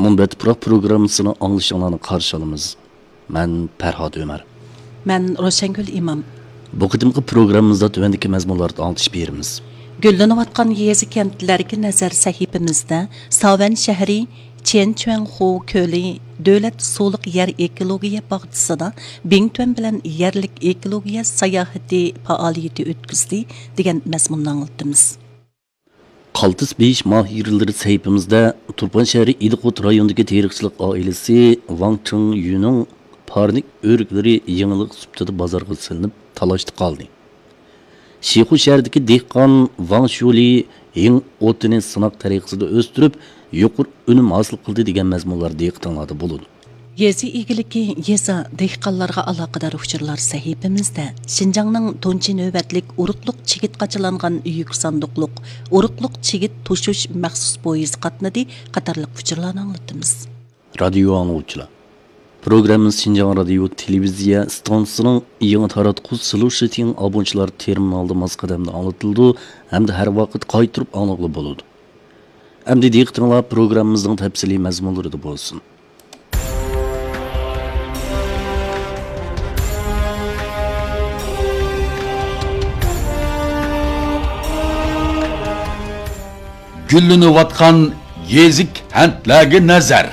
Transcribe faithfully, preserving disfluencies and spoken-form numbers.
ئون بەت پۇراق پروگراممىسىنى ئاڭلىشىڭلارنى قارشى ئالىمىز. مەن پەرھات ئۆمەر. مەن روشەنگۈل ئىمام. بۇ قېتىمقى پروگراممىمىزدا تۆۋەندىكى مەزمۇنلاردا ئاڭلىتىش بېرىمىز. گۈللىنىۋاتقان يېزا كەنتلەرگە نەزەر سەھىپىمىزدە ساۋەن شەھىرى، چيەنچۈەنخۇ كۆلى، دۆلەت سۇلۇق يەر ئېكولوگىيە باغچىسىدا بىڭتۈەن بىلەن يەرلىك ئېكولوگىيە ساياھىتى پائالىيىتى ئۆتكۈزدى دېگەن مەزمۇننى ئاڭلىتىمىز. قالتىس بېيىش ماھىرلىرى سەھىپىمىزدە تۇرپان شەھىرى ئىلىقۇت رايونىدىكى تېرىقچىلىق ئائىلىسى ۋاڭ چىڭيۈنىڭ پارنىك ئۆرۈكلىرى يېڭىلىق سۈپىتىدە بازارغا سېلىنىپ تالاشتا قالدى. شىخۇ شەھىرىدىكى دېھقان ۋاڭ شيۇلى ھىڭ ئوتىنى سىناق تەرىقىسىدە ئۆستۈرۈپ، يۇقىرى ئۈنۈم ھاسىل قىلدى دېگەن مەزمۇنلار دىققىتىڭلاردا بولىدۇ. يېزا ئىگىلىكى، يېزا، دېھقانلارغا ئالاقىدار ئۇچۇرلار سەھىپىمىزدە شىنجاڭنىڭ تۇنجى نۆۋەتلىك ئۇرۇقلۇق چىگىت قاچىلانغان يۈك ساندۇقلۇق، ئۇرۇقلۇق چىگىت توشۇش مەخسۇس پويىزى قاتنىدى قاتارلىق ئۇچۇرلارنى ئاڭلىتىمىز. رادىيو ئاڭلىغۇچىلار، پروگراممىمىز شىنجاڭ رادىيو تېلېۋىزىيە ئىستانسىسىنىڭ يېڭى تاراتقۇ سلۇشىتىڭ ئابونچىلار تېرمىنالىدا ماس قەدەمدە ئاڭلىتىلىدۇ ھەمدە ھەر ۋاقىت قايتۇرۇپ ئاڭلىغىلى بولىدۇ. ئەمدى دىققىتىڭلار پروگراممىمىزنىڭ تەپسىلىي مەزمۇنلىرىدا بولسۇن. گۈللىنىۋاتقان يېزا كەنتلەرگە نەزەر.